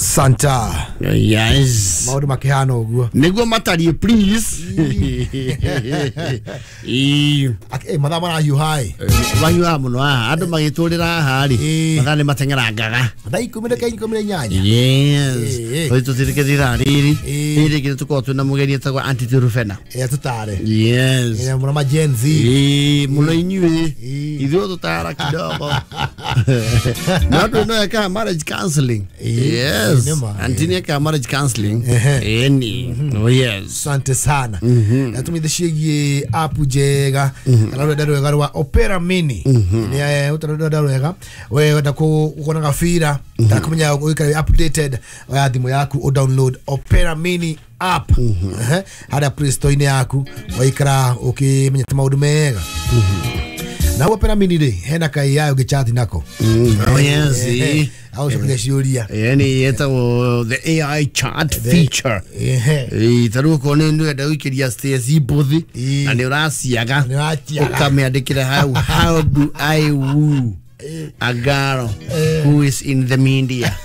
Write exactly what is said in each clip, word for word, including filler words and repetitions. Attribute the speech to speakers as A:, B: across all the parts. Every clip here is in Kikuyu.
A: Santa.
B: Yes.
A: Maundu makihana uguo.
B: Niguo matarie please. Eh
A: mathaa marahiũha ĩ.
B: Mahiũha mũno haha andũ magĩtũrĩra haha rĩ mathaa nĩ mateng'erangaga.
A: Thaa ikũmi na ikũmi na inyanya.
B: Yes. Tũthiĩ tũtirĩke ithaa rĩrĩ rĩrĩ rĩngĩ tũkorwo twĩna mũgeni etagwo Aunty Rufena.
A: Eh tũtare.
B: Yes.
A: Eh mũno ma Gen Z.
B: Eh mũno inyuĩ ithuĩ tũtara kidogo. No andũ no ekaga marriage counseling. Yes. Aunty nĩ ekaga marriage counseling. Ĩni. Oh yes.
A: Asante sana. Na tumithe ciĩgiĩ app njega kana rwenda rwega rwa Opera Mini. Nĩ rwenda rwega we wenda kuona gabira ndakumenya ũikare updated oya thimũ yaku o download Opera Mini app harĩa Play Store-inĩ yaku waikara ũkĩmenyete maũndũ mega. Na Opera Mini rĩ hena ka A I ũngĩchat nako.
B: Oh yes.
A: Au cokia ciũria.
B: Yani yetagwo the A I chat feature. Eh taru ko nĩ ndĩrenda gũikĩria Stacy mbuthi na nĩ ũraciaga ũkamĩandĩkĩra how how do I woo a girl who is in the media.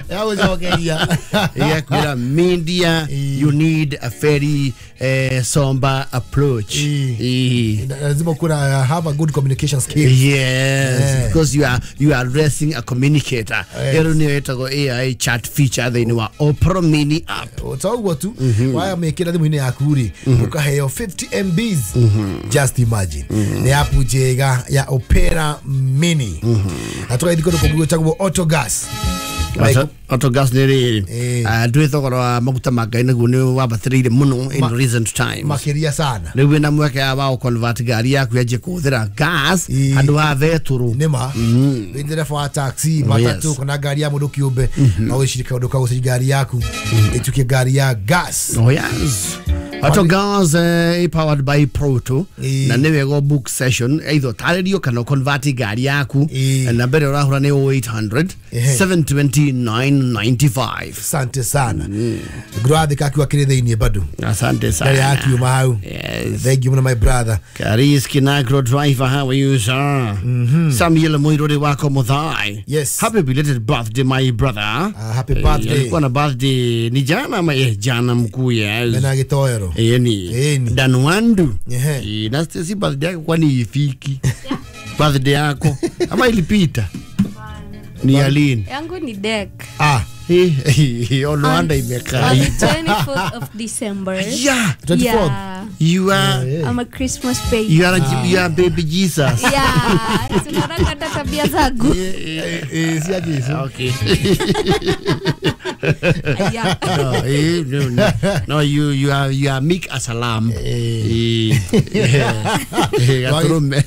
B: Yeah, media, you need a very uh, somber approach.
A: E. Have a good communication skill.
B: Yes, yeah. Because you are you are addressing a communicator. A I chat feature they know Opera Mini app.
A: So what to why make it thimũ-inĩ yaku rĩ ũkaheo fifty M Bs. Just imagine. Nĩ app njega ya Opera Mini. Na tũgathiĩ kũndũ kũngĩ gwĩtagwo Autogas.
B: Autogas nĩ rĩrĩ ndwĩ thogora wa maguta ma ngai naguo nĩ wambatĩrĩire mũno in recent times
A: makĩria sana.
B: Rĩu wĩna mweke wa gũ-convert ngari yaku yanjie kũhũthĩra gas handũ ha betũrũ.
A: Nĩma wĩ ndereba wa taxi matatu kana ngari ya mũndũ kĩũmbe no wĩcirie kaũndũ ka gũcenjia ngari yaku ĩtuĩke ngari ya gas.
B: Oh yes. Autogas uh, powered by Proto na nĩ wega book session either tarĩrio kana convert ngari yaku na mbere ũrahũra nĩ oh eight hundred seven twenty nine ninety-five.
A: Asante sana. Ngurathi kakiwa kiri thĩinĩ bado.
B: Asante sana.
A: Ngari yakiuma hau.
B: Yes.
A: Thank you my brother.
B: Karis Kinagro driver, how are you sir? Mm-hmm. Samuel Muiruri wako Muthai.
A: Yes.
B: Happy belated birthday my brother.
A: Uh, happy birthday.
B: Alikuwa na birthday ni jana ama eh jana mkuu yes.
A: Mena gitoero.
B: Eni.
A: Eni.
B: Danwandu.
A: Eh.
B: Na si birthday yako kwani ifiki? Birthday yako ama ilipita? Ni Aline.
C: Yangu ni Dek.
A: Ah.
B: Olwanda imekaa.
C: On the twenty-fourth of December.
B: Yeah,
A: twenty-fourth.
C: Yeah.
B: You are
A: yeah.
C: I'm a Christmas baby.
B: You are a, ah. You are baby Jesus.
C: Yeah. Tunataka tabia zangu.
B: Eh
A: eh si aje.
B: Okay.
C: Yeah.
B: No, eh, no, no. No, you you are you are meek as a lamb. Eh. Eh. Aturume.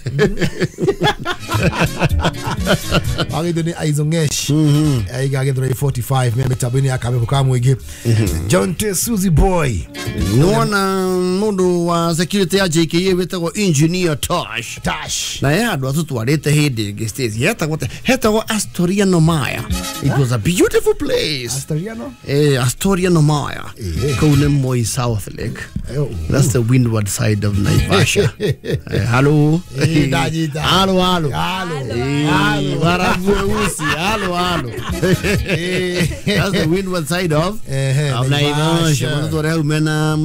A: Agithũ nĩ Aizongesh. Aiga agithũ forty-five me mĩtambo-inĩ ya Kameme ka mũingĩ. John T Suzy Boy.
B: Nona mundu wa security ya J K A wĩtagwo Engineer Tosh.
A: Tosh.
B: Na ye andũ atũtwarĩte hĩndĩ ĩngĩ Stacy. Hetagwo hetagwo Astoria Nomaya. It was a beautiful place.
A: Astoriano?
B: Eh, Astoria Nomaya. Kũu nĩ Moi South Lake. That's the windward side of Naivasha. Eh, hello.
A: Eh, ndanyita.
B: Halo halo.
A: Halo.
B: Halo. Warabu weusi. Halo halo. That's the windward side of,
A: eh,
B: of Naivasha. Mũndũ tũrĩa umena